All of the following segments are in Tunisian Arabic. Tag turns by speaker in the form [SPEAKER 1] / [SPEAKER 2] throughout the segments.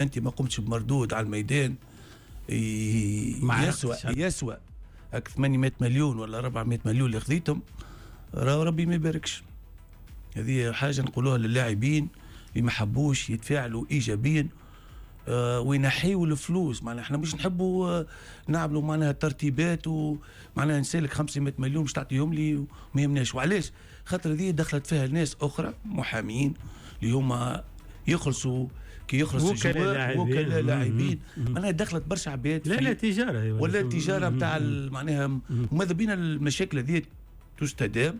[SPEAKER 1] انت ما قمتش بمردود على الميدان يسوى هاك 800 مليون ولا 400 مليون اللي خذيتهم، راه ربي ما يباركش. هذه حاجة نقولوها للاعبين اللي ما حبوش يتفاعلوا ايجابيا وينحيوا الفلوس. معناها احنا مش نحبوا نعملوا معناها ترتيبات ومعناها نسالك 500 مليون باش تعطيهم لي وما يهمناش. وعلاش؟ خاطر هذه دخلت فيها ناس اخرى محامين اللي هما يخلصوا كي يخلص وكلاء لاعبين، معناها دخلت برشا عباد.
[SPEAKER 2] لا تجارة
[SPEAKER 1] ولا تجارة نتاع معناها. وماذا بينا المشاكل هذه تستدام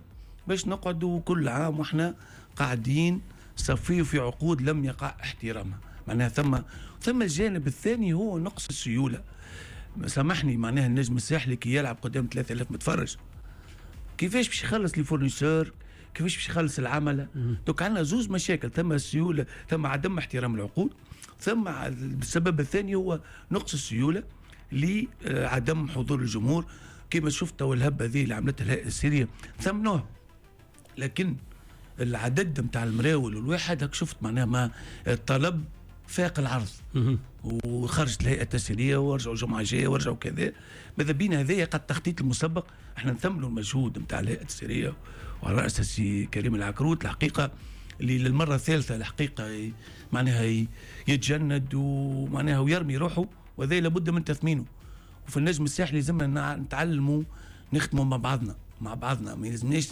[SPEAKER 1] باش نقعدوا كل عام واحنا قاعدين صفيوا في عقود لم يقع احترامها. معناها ثم الجانب الثاني هو نقص السيولة. سامحني معناها النجم الساحلي كي يلعب قدام 3000 متفرج كيفاش باش يخلص les fournisseurs، كيفاش باش يخلص العملة؟ donc عندنا زوز مشاكل، ثم السيولة، ثم عدم احترام العقود، ثم السبب الثاني هو نقص السيولة لعدم حضور الجمهور. كما شفت الهبة ذي اللي عملتها الهيئة السيريه ثمنوها، لكن العدد نتاع المراول والواحد هاك شفت معناها ما الطلب فاق العرض وخرجت الهيئة التسييريه ورجعوا جمعه جاية ورجعوا كذا. ماذا بينا هذايا قد التخطيط المسبق، احنا نثمنوا المجهود نتاع الهيئة التسييريه وعلى راس السي كريم العكروت الحقيقة اللي للمرة الثالثة الحقيقة معناها يتجند ومعناها ويرمي روحه، وهذا لابد من تثمينه. وفي النجم الساحلي لازمنا نتعلموا نخدموا مع بعضنا، ما يلزمناش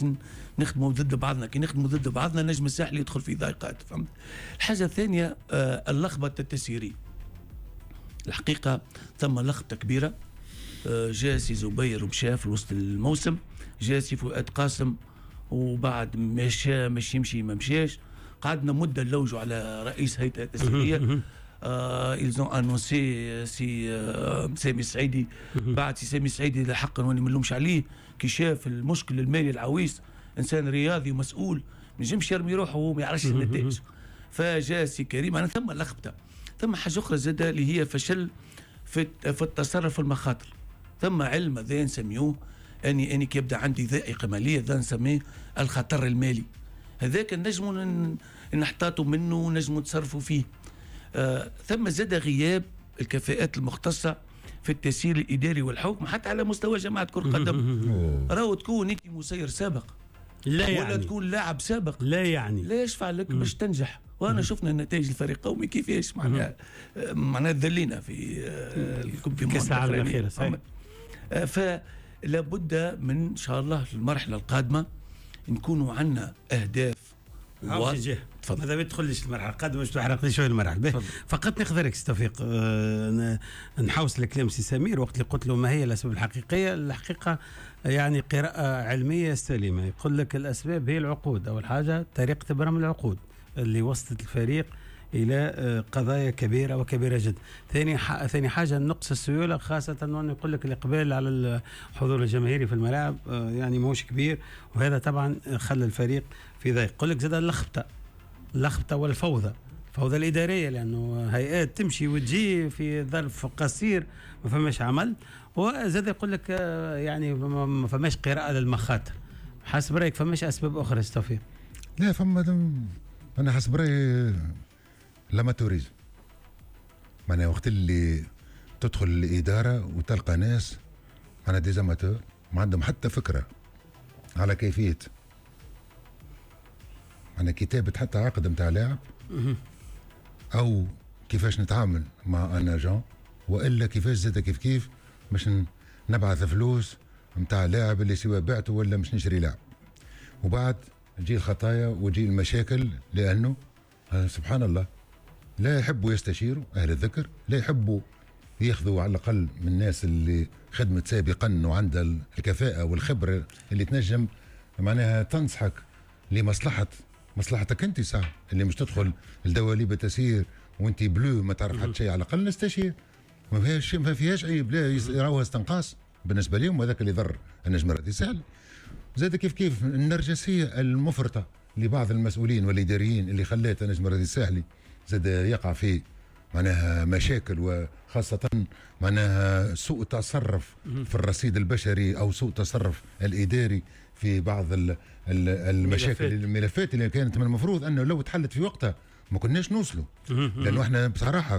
[SPEAKER 1] نخدموا ضد بعضنا. كي نخدموا ضد بعضنا النجم الساحلي يدخل في ضيقات، فهمت؟ الحاجة الثانية اللخبطة التسييريه. الحقيقة ثم لخبطة كبيرة. جاء سي زبير ومشى في وسط الموسم، جاء سي فؤاد قاسم وبعد مشى مش يمشي ما مشاش، قعدنا مده نلوجوا على رئيس هيئة التسييريه. ils ont annoncé سي سامي السعيدي. بعد سي سامي السعيدي لحقا واني ما نلومش عليه كي شاف المشكل المالي العويص، انسان رياضي ومسؤول ما ينجمش يرمي روحه وهو ما يعرفش النتائج. فجاء سي كريم. انا ثم لخبطة، ثم حاجة اخرى زاده اللي هي فشل في التصرف في المخاطر. ثم علم هذا نسميوه اني كي يبدا عندي ذائقة ماليه هذا نسميه الخطر المالي. هذاك نجموا نحتاطوا منه ونجموا نتصرفوا فيه. ثم زاد غياب الكفاءات المختصة في التسيير الإداري والحكم حتى على مستوى جماعة كرة القدم. راهو تكون أنت مسير سابق لا يعني، ولا تكون لاعب سابق
[SPEAKER 2] لا يعني،
[SPEAKER 1] لا يشفع لك باش تنجح. وأنا شفنا النتائج الفريق القومي كيفاش معناها ذلينا في
[SPEAKER 2] كأس العالم الأخيرة. صحيح.
[SPEAKER 1] فلا بد من إن شاء الله في المرحلة القادمة نكونوا عندنا أهداف.
[SPEAKER 2] تفضل. ماذا بتدخلش المرحلة القادمة باش تحرقني شوية المرحلة. فقط ناخذ رايك توفيق، نحوس الكلام سي سمير وقت اللي قلت له ما هي الاسباب الحقيقية. الحقيقة يعني قراءة علمية سليمة، يقول لك الاسباب هي العقود. اول حاجة طريقه ابرام العقود اللي وصلت الفريق الى قضايا كبيرة وكبيره جدا. ثاني حاجة نقص السيولة، خاصة انه يقول لك الاقبال على الحضور الجماهيري في الملاعب يعني ماهوش كبير، وهذا طبعا خلى الفريق في ضيق. يقول لك زاد اللخبطة والفوضى، الفوضى الادارية، لانه هيئات تمشي وتجي في ظرف قصير ما فماش عمل. وزاد يقول لك يعني ما فماش قراءة للمخاطر. حسب رايك فماش اسباب اخرى توفيق؟
[SPEAKER 3] لا فما، انا حسب رايي l'amateurisme. معناها وقت اللي تدخل الادارة وتلقى ناس معناها des amateurs ما عندهم حتى فكرة على كيفية معناها كتابه حتى عقد نتاع لاعب، او كيفاش نتعامل مع un agent، والا كيفاش زاد كيف كيف باش نبعث فلوس نتاع لاعب اللي سواء بعته ولا مش نشري لاعب. وبعد تجي الخطايا وتجي المشاكل، لانه سبحان الله لا يحبوا يستشيروا أهل الذكر، لا يحبوا ياخذوا على الأقل من الناس اللي خدمت سابقا وعندها الكفاءة والخبرة اللي تنجم معناها تنصحك لمصلحة مصلحتك أنت ساعة اللي مش تدخل الدواليب التسيير وأنت بلو ما تعرف حتى شيء. على الأقل نستشير، ما فيهاش عيب، لا يراوها استنقاص بالنسبة لهم، وهذاك اللي ضر النجم الرياضي سهل. زاد كيف كيف النرجسية المفرطة لبعض المسؤولين والإداريين اللي خلات النجم الرياضي الساحلي زاد يقع في معناها مشاكل، وخاصة معناها سوء تصرف في الرصيد البشري أو سوء تصرف الإداري في بعض المشاكل الملفات اللي كانت من المفروض أنه لو تحلت في وقتها ما كناش نوصلوا، لانه احنا بصراحة